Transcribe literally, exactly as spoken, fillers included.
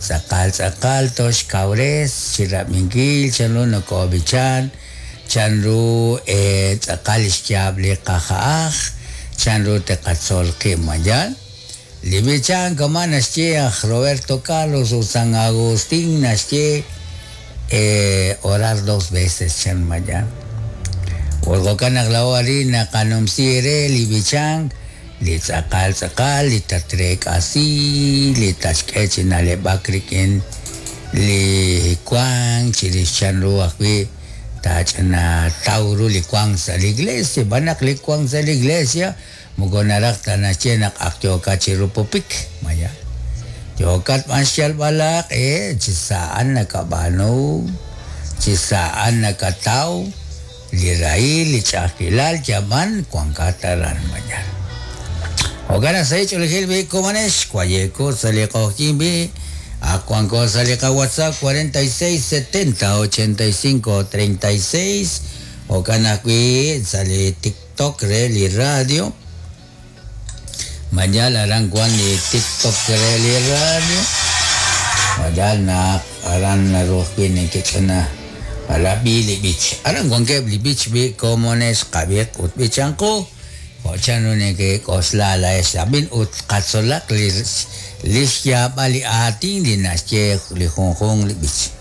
tz'aqal tz'aqal toxkawres chi rab'inkil chanru nokob'ichan, chanru eh, tz'aqal xyaab' li qaja'aj, chanru teqatzol qib' mayal. Li b'ichan kama naxye aj Roberto Carlos ut San Agustín naxye eh, orar dos veces chan mayal. Ut jo'kan naq laa'o arin naqanumsi re li b'ichan li tz'aqal tz'aqal li tatreek'asi li tatxk'e chi na'leb'ak rik'in li wank chirix chanru ajwi' taach'ina taw ru li wank sa' li iglesia, xb'aan naq li wank sa' li iglesia moko naraj ta naxye naq ak yookat chi rupupik maya. Yookat b'an xyalb'al aaq'e chi sa'an nakab'aanu, chi sa'an nakataw li rahil, li ch'a'ajkilal yab'an wankat aran maya. Jo'kan naq sa' ch'oolejil b'i komonex wayeko sa' li q'oqyink b'i ak wanko sa' li qaWhatsApp cuarenta y seis setenta ochenta y cinco treinta y seis jo'kan ajwi' sa' li TikTok re li radio. Mayal aran wan li TikTok re li radio. Mayal naq aran naru ajwi' nekech'ana alab'i li b'ich. Aran wankeb' li b'ich b'i komonex qab'iq ut b'ichanqu. Jo' chanru nekek'oxla laa'ex ab'in ut qatzolaq li li xyaab'al li aatin li naxye li junjunq li b'ich.